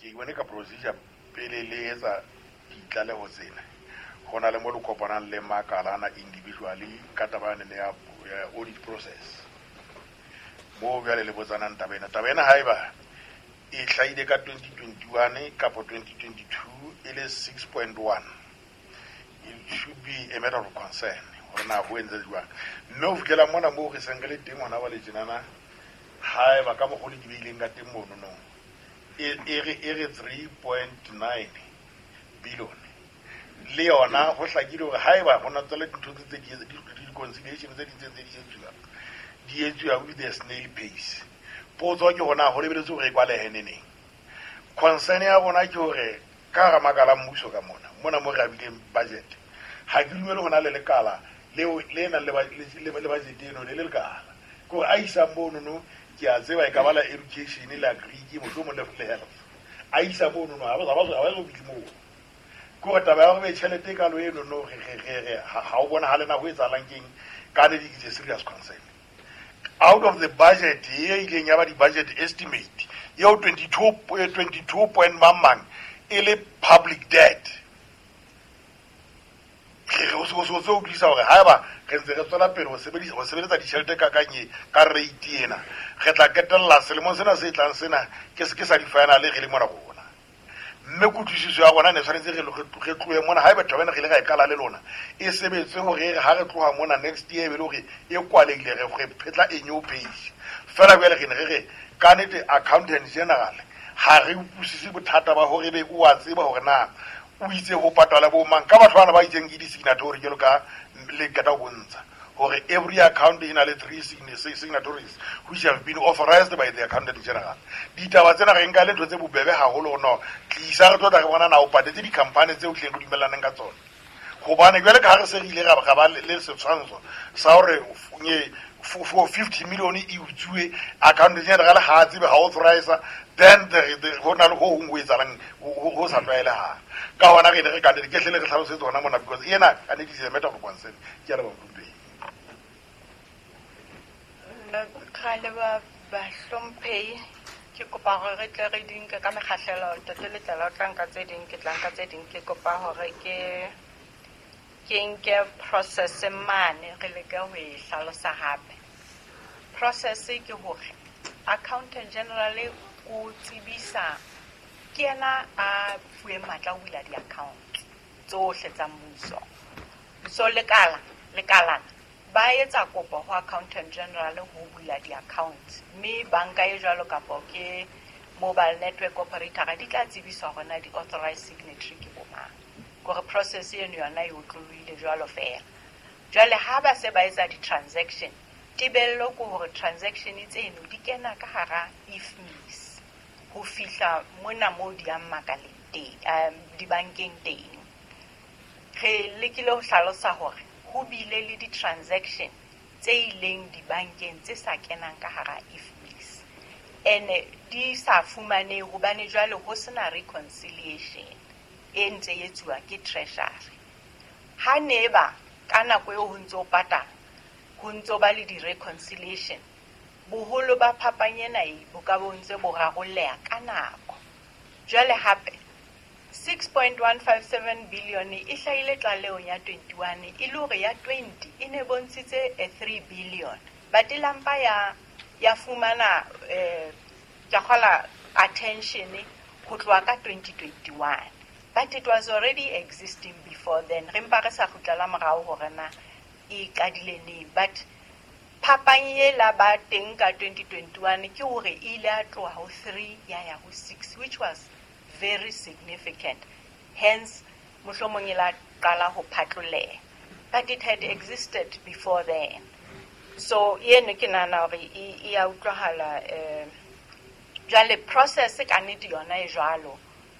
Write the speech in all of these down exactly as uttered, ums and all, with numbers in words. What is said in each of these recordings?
Ke bone ka procedure pele le etsa ditlaleho tsena, ho na le mo le kopanang le makalana individually ka taba yane ya ya audit process, moo jwale le botsanang taba ena. Taba ena haeba e hlahile ka twenty twenty-one kapo twenty twenty-two e le six point one, it should be a matter of concern hore na ho entse jwang. Mme ho fihlela mona moo re seng re le teng hona jwale tjenana, haeba ka mokgwa o le di beileng ka teng monono, e e re e re three point nine billion, le yona ho hlakile hore haeba ho na tswela dintho tse tse di di-reconciliation tse ding tse ntse di etsuwa, di etsuwa with the snail pace. Potso ke hona ho lebeletse hore e kwalehe neneng. Concern ya rona ke hore ka hara makala a mmuso ka mona mona mo re abileng budget, ha ke dumele ho na le lekala leo le nang le ba- le le- le budget eno le le lekala ke hore a isang monono. Ke a tseba e ka ba la education, le agric, mohlomong le le health. A isa monono ha ba ha ba ha ba so fihle moo. Ke hore taba ya hore be tjhelete e kalo eno no re re re re ha ha o bonahale na ho etsahalang keng. Ka nnete it's a serious concern. Out of the budget e ileng ya ba di-budget estimate eo twenty-two eh, twenty-two point mang mang e le public debt, re re o se o se o se utlwisa hore haeba re ntse re tswela pele ho sebedisa ho sebeletsa ditjhelete ka kanye ka rate ena, re tla ketella selemong sena se tlang sena ke se ke sa di-final re le mona rona. Mme kutlwisiso ya rona ne tshwanetse re re tlohe mona, haeba taba ena re ile ra e qala le lona, e sebetse hore re ha re tloha mona next year e be le hore e kwalehile, re re phetla a new page fela. Jwale re ne re re ka nnete accountant general ha re utlwisise bothata ba hore be o a tseba hore na o itse ho patala bo mang ka batho bana ba itseng ke di-signatory, jwalo ka le qeta ho bontsha hore every account e na le three signa- signatories which have been authorized by the accountant general. Ditaba tsena re nka le ntho tse bobebe haholo. No tlisa re tlo tla re bona na o patetse di-company tseo tleng re dumellaneng ka tsona, hobane jwale ka ha re se re ile ra ra ba le le setshwantsho sa hore nye for fifty million e utsuwe, accountant general ha a tsebe, ha authorize, then the- the- ho na le ho hong ho etsahalang ho ho- ho sa tlwaelehang. Ka hona re ne re ka ke hle le re hlalosetse hona mona, because ena ka nnete is a matter of concern. Ke a leboha, mohlomphehi. Ra leboha, bahlomphehi. Ke kopa hore re tle re di nke ka mekgahlelo. Ntate Letlala o tla nka tse ding, ke tla nka tse ding. Ke kopa hore ke ke nke process mane re leke ho e hlalosa hape. Process ke hore accountant general o tsebisa, ke yena a fuweng matla ho bula di-account tsohle tsa mmuso. So lekala lekalana ba etsa kopo ho accountant general ho bula di-accounts, mme banka e jwalo kapo ke mobile network operator di tla tsebiswa hore na di-authorized signatory ke bo mang. Kore process eno yona e otlolohile jwalo fela. Jwale ha ba se ba etsa di-transaction, tebello ke hore transaction tseno di kena ka hara I F M I S ho fihla mona moo di yang makaleng teng, um, dibankeng teng. Re lekile ho hlalosa hore ho bile le di-transaction tse ileng dibankeng tse sa kenang ka hara I F M I S, ene di sa fumanehe hobane jwale ho sena reconciliation e ntse e etsuwa ke treasury. Ha ne ba ka nako eo ho ntso patala, ho ntso ba le di-reconciliation, boholo ba phapang ena e bo ka bo ntse bo rarolleha ka nako. Jwale hape six point one five seven billion e hlahile tlalehong ya twenty-one, e le hore ya twenty e ne bontshitse a three billion, but e lampa ya ya fumana eh ke kgola attention ho tloha ka twenty twenty-one, but it was already existing before then. Re mpa re sa kgutlela morao hore na e qadile neng, but phapang e la ba teng ka twenty twenty-one ke hore e ile ya tloha ho three ya ya ho six, which was very significant. Hence mohlomong e la qala ho phatloleha, but it had existed before then. So eno ke nahana hore e e ya utlwahala. eh jwale process ka nnete yona e jwalo.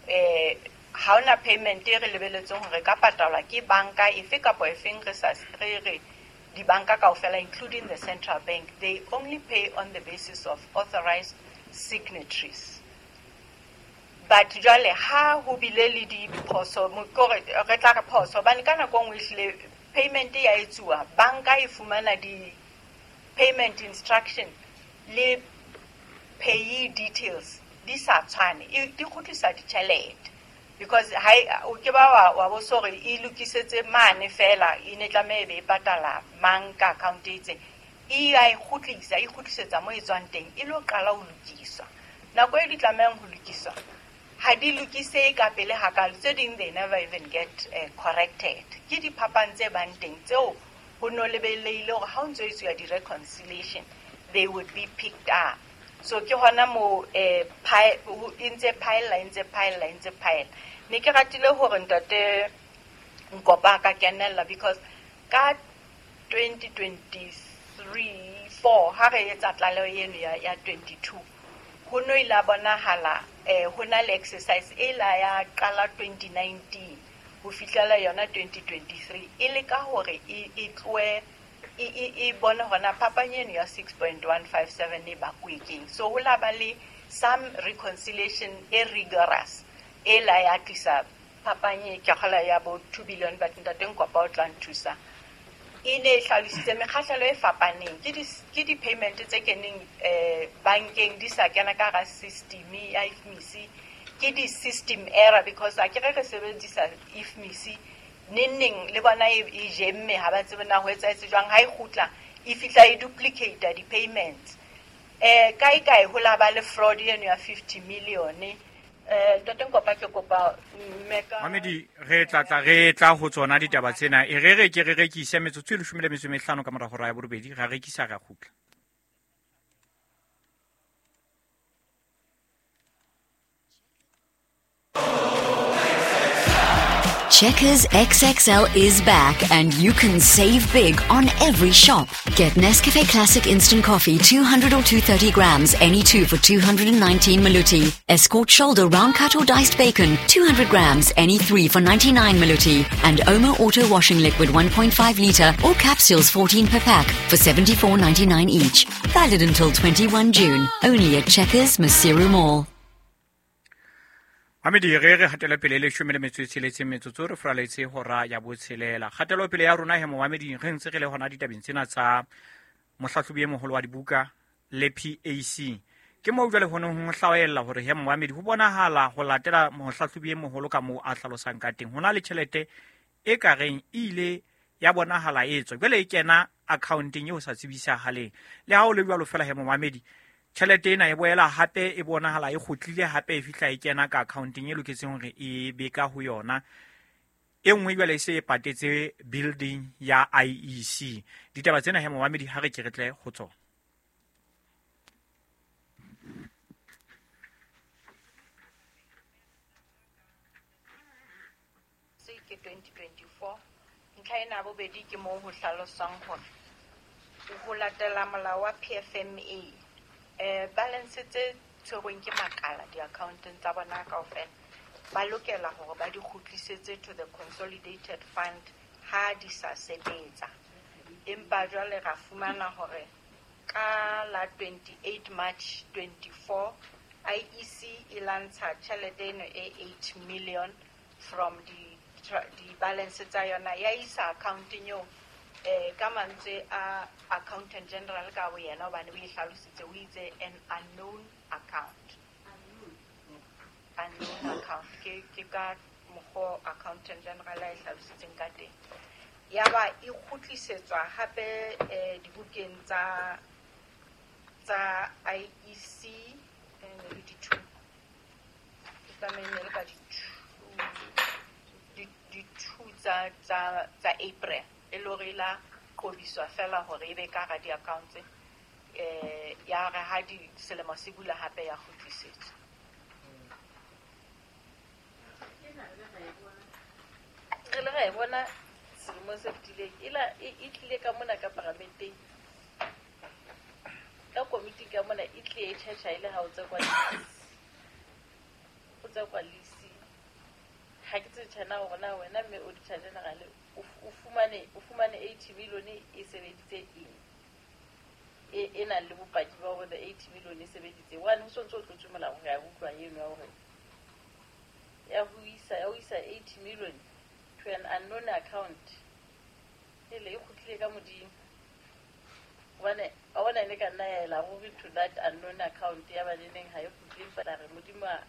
eh ha hona payment e re lebeletseng hore ka patalwa ke banka efe kapa efeng. Re sa re re dibanka kaofela, including the central bank, they only pay on the basis of authorized signatories. But jwale ha ho bile le diphoso, kore re tla re phoso, hobane ka nako e nngwe ehlile payment ya etsuwa, banka e fumana di payment instruction le payee details di di sa tshwane, e di kgutlisa ditjhelete. Because ha o ke ba wa wa bo sore e lokisetse mane fela e ne tlameha e be e patala mang ka account e itseng. E a e kgutlisa, e kgutlisetsa mo e tswang teng, e lo qala ho lokiswa. Nako e di tlamehang ho lokiswa ha di lokise ka pele hakalo, tse ding they never even get uh, corrected. Ke diphapang tse bang teng tseo ho no lebelehile hore ha o ntso etsuwa di-reconciliation they would be picked up. So ke hona mo eh e ntse phaella, e ntse phaella, e ntse phaella. Ne ke ratile hore ntate Nkopa a ka kenella because ka twenty twenty-three four ha re etsa tlaleho eno ya ya twenty-two ho no ile a bonahala eh ho na le exercise e la ya qala twenty nineteen ho fihlela yona twenty twenty-three e le ka hore e e tloe e e bone hona phapang eno ya six point one five seven e bakuwe keng. So ho la ba le some reconciliation e rigorous e la ya tlisa phapang e ke kgola ya bo two billion, but ntate Nkopa o tla nthusa. E ne e hlalositse mekgahlelo e fapaneng ke di ke di-payment tse keneng eh bankeng di sa kena ka hara system ya I F M I S, ke di-system error because a ke re re sebedisa I F M I S neng neng le bona e e jemme, ha ba tsebe na ho etsahetse jwang, ha e kgutla e fihla e duplicate di-payments. Eh kae kae ho la ba le fraud eno ya fifty million. Eh ntate Nkopa ke kopa mme ka Mamedi re tla tla re tla ho tsona ditaba tsena e re re ke re rekise metsotso e leshome le metso e mehlano ka mora hora ya borobedi, ra rekisa ra kgutla. Checkers X X L is back and you can save big on every shop. Get Nescafe Classic Instant Coffee two hundred or two hundred thirty grams, any two for two hundred nineteen Maluti. Escort Shoulder Round Cut or Diced Bacon, two hundred grams, any three for ninety-nine Maluti. And Omo Auto Washing Liquid one point five litre or capsules fourteen per pack for seventy-four ninety-nine each. Valid until twenty-first June. Only at Checkers Maseru Mall. Mamedi re re hatela pele leshome le metso e tsheletseng metsotso re fraletse hora ya botshelela. Kgatelo pele ya rona he momamedi re ntse re le hona ditabeng tsena tsa mohlahlobi e moholo wa dibuka le P A C. Ke moo jwale ho neng ho hlaoella hore he momamedi ho bonahala ho latela mohlahlobi e moholo ka moo a hlalosang ka teng. Ho na le tjhelete e ka reng e ile ya bonahala e tswa jwale e kena accounteng eo sa tsebisahaleng. Le ha o le jwalo fela he momamedi tjhelete ena e boela hape e bonahala e kgutlile hape e fihla e kena ka accounteng e loketseng hore e be ka ho yona. E nngwe jwale e se e patetse building ya I E C. Ditaba tsena he momamedi ha re ke re tle ho tsona. Ke twenty twenty-four ntlha ena ya bobedi ke moo ho hlaloswang hore ho latela molao wa P F M A eh balance tse tshwerweng ke makala di-accounteng tsa bona kaofela ba lokela hore ba di kgutlisetse to the consolidated fund ha di sa sebetsa. Empa jwale ra fumana hore ka la twenty-eight March twenty-four I E C e lantsha tjhelete eno e eight million from di di-balance tsa yona ya isa accounteng eo eh ka mantswe a accountant general ka bo yena hobane o e hlalositse o itse an unknown account. Unknown account ke ke ka mokgwa accountant general a e hlalositseng ka teng. Ya ba e kgutlisetswa hape eh dibukeng tsa tsa I E C eh ne le di-two ke tlameha ne le ka di-two di-two tsa tsa tsa April e le hore la qobiswa fela hore ebe ka hara di-accounts eh ya re ha di selemo se bula hape ya kgutlisetswa. Re le ra e bona selemo se fetileng e la e tlile ka mona ka paramenteng ka komiti ka mona e tlile e tjhetjha e le ha o tse kwa o tse kwa lisi. Ha ke tsebe tjhena hore na wena mme auditor general o fumane o fumane eighty million e sebeditse eng e e nang le bopaki ba hore the eighty million e sebeditse one ho sontso o tlotswe molao re a utlwa eno ya hore ya ho isa ya ho isa eighty million to an unknown account ele e kgutlile ka modimo hobane a bona ne ka nna ya ela ruri to that unknown account ya ba neneng ha e kgutle empa la re modimo Modimo a